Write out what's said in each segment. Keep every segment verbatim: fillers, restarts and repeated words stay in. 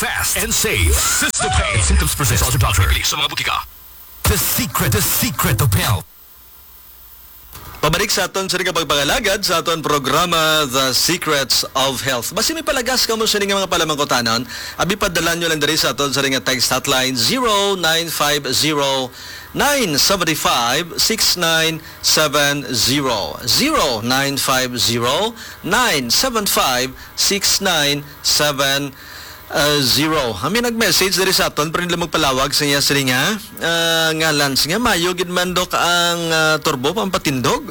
Fast and safe. System pain. Symptoms persist. Consult your doctor. Sa mga butika. The secret, the secret of health. Pabalik sa aton sa nga pagpangalagad sa aton programa, The Secrets of Health. Basi may palagas kamo sa nga mga palamangkutanon, abi padala nyo lang diri sa aton sa nga text hotline, zero nine five zero nine seven five six nine seven zero, zero nine five zero nine seven five six nine seven ah, zero. Kami nag-message diri sa aton, pero nila magpalawag sa iya sini nga, ah, ngalan. Sige, mayo gid man, Dok, ang, ah, turbo pampatindog.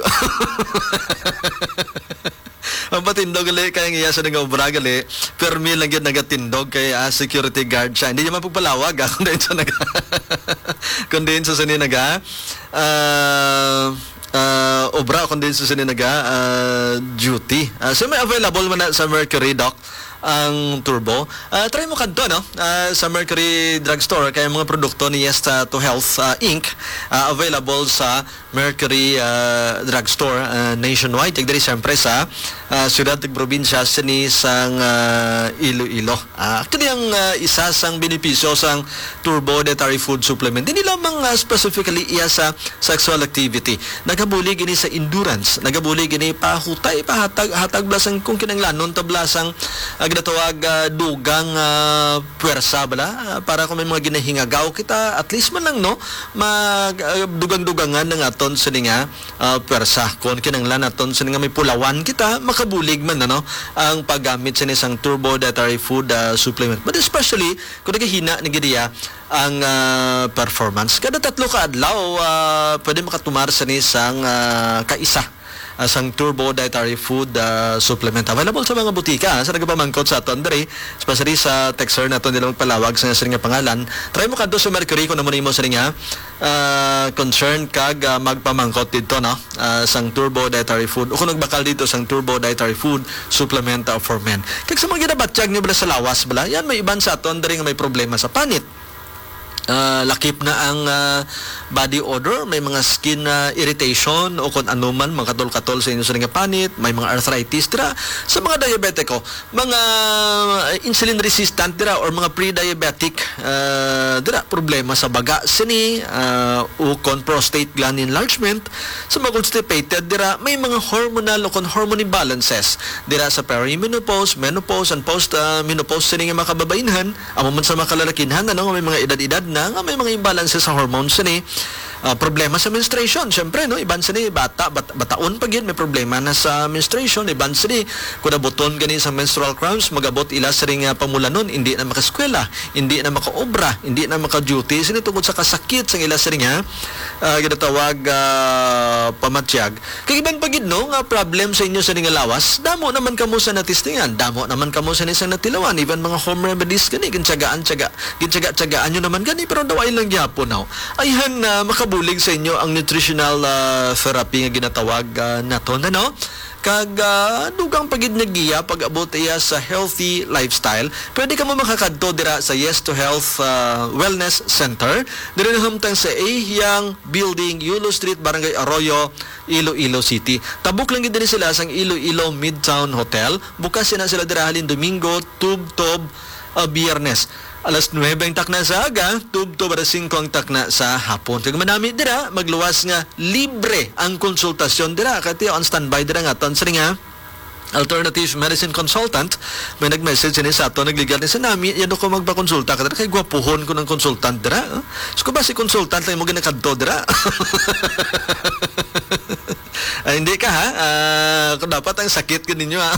Ang patindog gali kay ang iya sa nga obra gali, permi lang gyud nagatindog kay, ah, security guard siya. Hindi niya mapagpalawag, ah, kung diin sa naga-, kung diin sa sini naga, ah, ah, obra, kung diin sa sini naga, ah, duty. Ah, so may available man na sa Mercury, Doc, ang turbo. Ah, try mo kadto, no? Ah, sa Mercury Drugstore, kay mga produkto ni Yes to Health, ah, Inc, ah, available sa Mercury, ah, Drugstore, ah, nationwide. Kag diri siyempre sa, ah, siyudad kag probinsya sini sang, ah, Iloilo. Ah, actually, ang, ah, isa sang benepisyo sang Turbo Dietary Food Supplement, hindi lamang, ah, specifically iya sa sexual activity. Nagabulig ini sa endurance, nagabulig ini pahutay, pahatag, hatag blasang kung kinanglanon ta blasang, ah, ginatawag, ah, dugang, ah, puwersa bala, ah, para kung may mga ginahingagaw kita, at least man lang, no, mag, ah, dugang-dugangan ang aton sini nga, ah, puwersa. Kung kinanglan naton sini nga may pulawan kita, makabulig man, ano, ang paggamit sini sang Turbo Dietary Food, ah, Supplement. But especially kung nagahina ni gidiya ang, ah, performance. Kada tatlo ka adlaw, ah, pwede makatumar sini sang, ah, kaisa, ah, sang Turbo Dietary Food, ah, Supplement. Available sa mga butika, ah, sa nagapamangkot sa aton diri, especially sa texter naton, nila magpalawag sa sini nga pangalan. Try mo kadto sa Mercury kung amo nimo sini nga, ah, concern kag, ah, magpamangkot dito, no? Ah, sang Turbo Dietary Food. O kung nagbakal dito sang Turbo Dietary Food Supplement, ah, for Men. Kag sa mga ginabatyag niyo bala sa lawas bala, yan may iban sa aton diri nga may problema sa panit. Ah, lakip na ang, ah, body odor, may mga skin, ah, irritation o kung ano man, mga katol-katol sa inyo sa nga panit, may mga arthritis dira. Sa mga diabetiko, mga, ah, insulin resistant dira or mga pre-diabetic, ah, dira, problema sa baga sini, ah, o kon prostate gland enlargement, sa mga constipated dira, may mga hormonal o kon hormone imbalances dira sa perimenopause, menopause, and post, ah, menopause sini nga mga kababainhan, amo man sa mga kalalakinhan, ano, nga may mga edad-edad na, nga may mga imbalances sa hormones sini. Ah, problema sa menstruation, syempre, no, iban sini bata, bat-, bataon pa gid may problema na sa menstruation, iban sini kung nabuton gani sa menstrual cramps, magabot ila sini nga pamulanon, hindi na makaeskwela, hindi na makaobra, hindi na maka-duty sini tungod sa kasakit sang ila sini nga, ah, ginatawag, ah, pamatyag. Kag iban pa gid, no, nga problem sa inyo sa nga lawas, damo naman kamo sa natistingan, damo naman kamo sa isang natilawan, even mga home remedies gani, gintsagaan, tsaga, gintsaga-tsagaan nyo naman gani, pero daw ay lang gyapon, no? Ayhan na makabulig sa inyo ang nutritional, ah, therapy nga ginatawag, ah, naton, ano? Kag, ah, dugang pa gid nga giya pag-abot iya sa healthy lifestyle. Pwede kamo makakadto dira sa Yes to Health, ah, Wellness Center. Diri na hamtang sa Ahiang Building, Yulo Street, Barangay Arroyo, Iloilo City. Tabok lang gid diri sila sang Iloilo Midtown Hotel. Bukas na sila dira halin Domingo tubtob, ah, Biyernes. Alas nuwebe ang takna sa aga, tubtob alas singko ang takna sa hapon. Kag manami dira, magluwas nga libre ang konsultasyon dira. Kay tiyo ang standby dira nga aton sini nga alternative medicine consultant. May nag-message sini sa ato, nagligal ni sa nami, yan ako magpakonsulta ka dira, kay gwapuhon ko ng consultant dira, eh. So, kung ba si consultant lang mo ginakadto dira? Ay, hindi ka, ha? Ah, kung dapat ang sakit ko ninyo, ha?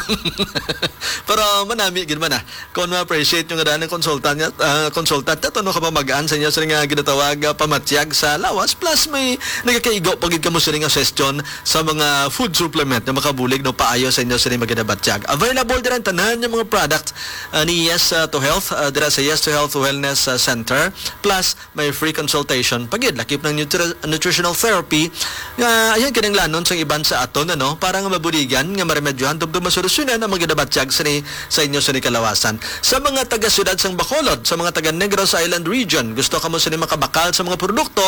Pero manami gid man, ah. Kung ma-appreciate nyo nga daan ang consultant niya, ah, consultant niya, to, no, kapamagaan sa inyo sa nga ginatawag, ah, pamatyag sa lawas. Plus, may nagakaigo pa gid kamo sini nga session sa mga food supplement na makabulig, no, paayo sa inyo sini maginabatyag. Available dira ang tanan nga mga product, ah, ni Yes, ah, to Health, ah, dira sa Yes to Health Wellness, ah, Center. Plus, may free consultation pa gid, lakip ng nutri-, nutritional therapy nga ayan kinahanglanon sang iban sa aton, ano, para nga mabuligan nga maremedyohan tubtob masolusyonan ang mga ginabatyag sini sa inyo sini kalawasan. Sa mga taga siyudad sang Bacolod, sa mga taga Negros Island Region, gusto kamo sini makabakal sa mga produkto,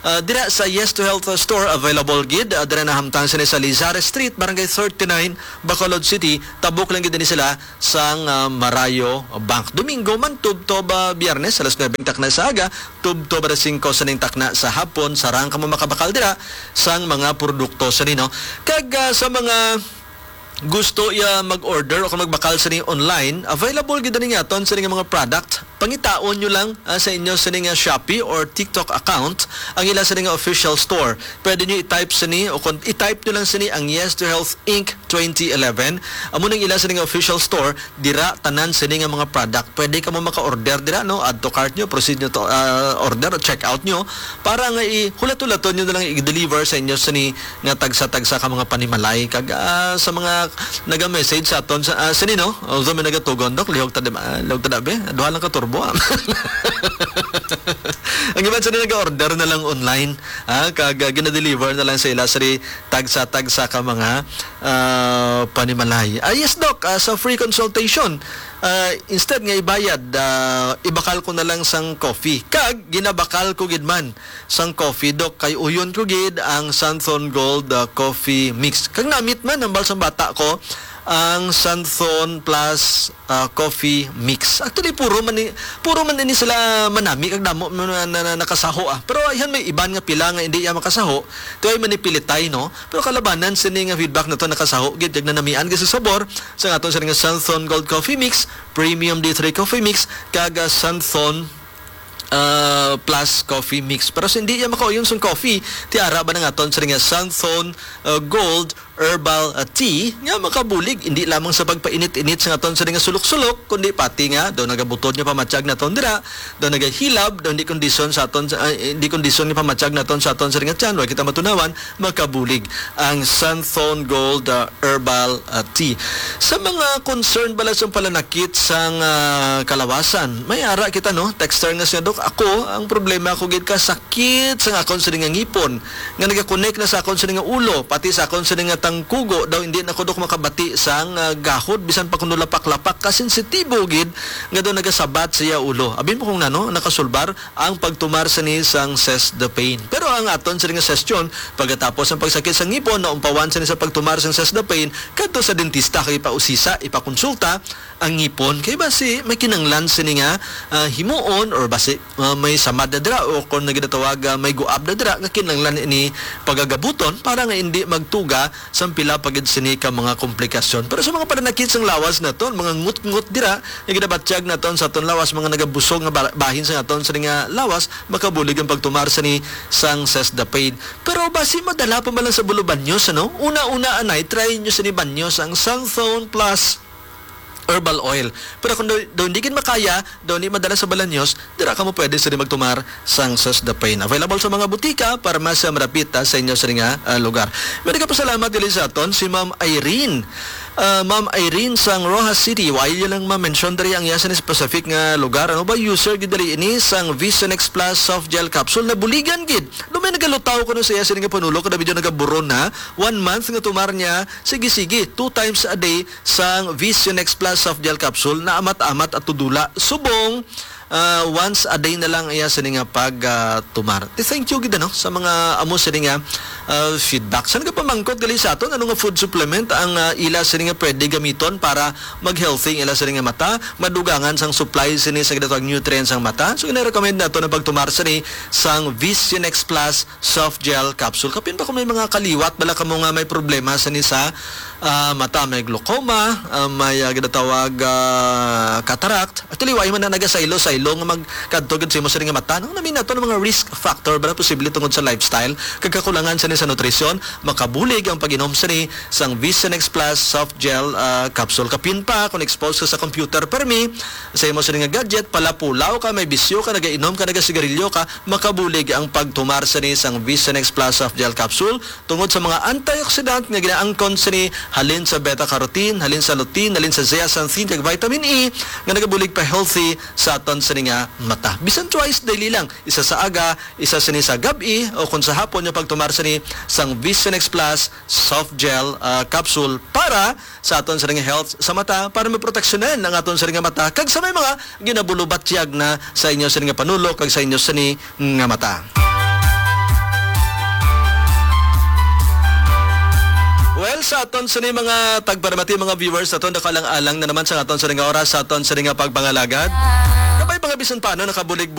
Ah, dira sa Yes to Health Store, available gid. Ah, dira nahamtang sini sa Lizares Street, Barangay thirty-nine, Bacolod City. Tabok lang gid ni sila sang, ah, Marayo Bank. Domingo man tubtob, ah, Biyernes, alas nuebe ang takna sa aga, tubtob alas singko sa ning takna sa hapon. Sarang kamo makabakal dira sang mga produkto sa nino. Kag, ah, sa mga gusto iya mag-order o kung magbakal sini online, available gid ni nga aton sini nga mga product. Pangitaon nyo lang, ah, sa inyo sini nga Shopee or TikTok account ang ila sini nga official store. Pwede nyo i-type sini o kung i-type nyo lang sini ang Yes to Health Inc twenty eleven. Amo nang ila sini nga official store, dira tanan sini nga mga product. Pwede kamo maka-order dira, no? Add to cart nyo, proceed nyo to, ah, order, check out nyo para nga i-hulat-hulaton nyo na lang i-deliver sa inyo sini nga tagsa-tagsa ka mga panimalay. Kag, ah, sa mga naga-message sa aton, sa, ah, sini, no? Although may nagatugon, "Dok, lihog ta, di ba? Lihog ta, dabi. Duha lang ka turbo, ah." Ang iban sini naga-order na lang online, ah, kag, ah, gina-deliver na lang sa ila sini tagsa-tagsa ka mga, ah, panimalay. Ah, yes, Doc, ah, sa free consultation, ah, instead nga ibayad, ah, ibakal ko na lang sang coffee. Kag ginabakal ko gid man sang coffee, Doc, kay uyon ko gid ang Santhon Gold, ah, Coffee Mix. Kag namit man hambal sang bata ko ang Santhon Plus, ah, Coffee Mix. Actually, puro man ni, puro man ini sila manami kag damo man na, na, nakasaho, ah. Pero ayhan may iban nga pila nga hindi iya makasaho, tuway manipilitay, no? Pero kalabanan sini nga feedback nato, nakasaho gid kag nanamian gid sa sabor sa aton sini nga Santhon Gold Coffee Mix, Premium D three Coffee Mix, kag, ah, Santhon, ah, Plus Coffee Mix. Pero sa hindi iya makauyon sang coffee, tiara ba na nga aton sini nga Santhon, ah, Gold Herbal, ah, Tea nga makabulig hindi lamang sa pagpainit-init sa aton sini nga sulok-sulok, kundi pati nga daw nagabutod nga pamatyag naton dira, daw nagahilab, daw hindi kondisyon sa aton, ah, hindi kondisyon nga pamatyag naton sa aton sini nga tiyan, wa kita matunawan, makabulig ang Santhon Gold, ah, Herbal, ah, Tea. Sa mga concern bala sa palanakit sang, ah, kalawasan, may ara kita, no? Texter nga siya, "Dok, ako, ang problema ko gid ka sakit sa akon sini nga ngipon nga nagakonek na sa akon sini nga ulo, pati sa akon sini nga tangkugo, daw hindi na ko, Dok, makabati sang, ah, gahod, bisan pa kuno lapak-lapak, kasensitibo gid nga daw nagasabat sa iya ulo." Abi mo kung nano nakasulbar ang pagtumar sini sang Sesdapane. Pero ang aton sini nga sesyon, pagkatapos ang pagsakit sa ngipon, naumpawan sini sa pagtumar sang Sesdapane kadto sa dentista kag ipausisa, ipakonsulta ang ngipon. Kay basi may kinahanglan sini nga, ah, himuon or basi, ah, may samad na dira o kung naginatawag, ah, may guab na dira nga kinahanglan ini pagagabuton para nga hindi magtuga sang pila pa gid sini ka mga komplikasyon. Pero sa mga pananakit sang lawas naton, mga ngut-ngut dira nga ginabatyag naton sa aton lawas, mga nagabusog nga ba-, bahin sa aton sini nga lawas, makabulig ang pagtumar sini sang Sesdapane. Pero basi madala pa man lang sa bulo banyos, ano? Una-una, anay, try nyo sini banyos, ang Santhon Plus Herbal Oil. Pero kung daw, daw hindi gid makaya, daw hindi madala sa balanyos, dira kamo pwede sini magtumar sang Sesdapane. Available sa mga butika, parmasya, marapit, ah, sa inyo sini nga, ah, lugar. May nagapasalamat dili sa aton, si Ma'am Irene. Ah, Ma'am Irene sang Roxas City, wa iya lang ma-mention diri ang iya sini specific nga lugar. Ano ba, user gid diri ini sang Visionex Plus Soft Gel Capsule? Nabuligan gid. Lumay nagalutaw ko no sa iya sini nga panulo, kada medyo nagaburon na. One month nga tumar niya, sige-sige, two times a day sang Visionex Plus Soft Gel Capsule, naamat-amat at tudula. Subong, ah, once a day na lang iya sini nga pag, ah, tumar. Ti thank you gid, ano, sa mga amo sini nga, ah, feedback. Sa nagapamangkot gali sa aton, ano nga food supplement ang, ah, ila sini nga pwede gamiton para mag-healthy ang ila sini nga mata, madugangan sang supply sini sa ginatawag nutrients ang mata? So, gina-recommend nato na pagtumar sini sang Visionex Plus Soft Gel Capsule. Kapin pa kung may mga kaliwat, bala kamo nga may problema sini sa, ah, mata, may glaucoma, ah, may, ah, ginatawag, ah, cataract, Actually, wa man na nagasaylo-saylo nga magkadto gid sa imo sini nga mata, no? Nami nato ang mga risk factor ba posible tungod sa lifestyle, kag kakulangan sini sa nutrisyon, makabulig ang pag-inom sini sang Visionex Plus Soft Gel, ah, Capsule. Kapin pa, kung exposed ka sa computer permi, sa imo sini nga gadget, palapulaw ka, may bisyo ka, nagainom ka, nagasigarilyo ka, makabulig ang pagtumar sini sang Visionex Plus Soft Gel Capsule. Tungod sa mga antioxidant nga ginaangkon sini halin sa beta-carotene, halin sa lutein, halin sa zeaxanthin, kag vitamin E nga nagabulig pa healthy sa aton sini nga mata. Bisan twice daily lang, isa sa aga, isa sini sa gab-i, o kung sa hapon nga pagtumar sini sang Visionex Plus Soft Gel, ah, Capsule para sa aton sini nga health sa mata, para maproteksyonan ang aton sini nga mata kag sa may mga ginabulubatyag na sa inyo sini nga panulo kag sa inyo sini nga mata. Sa aton sini mga tagparamati, mga viewers naton, nakalang-alang na naman sa aton sini nga oras, sa aton sini nga pagpangalagad. Kabay pa nga bisan paano nakabulig-bulig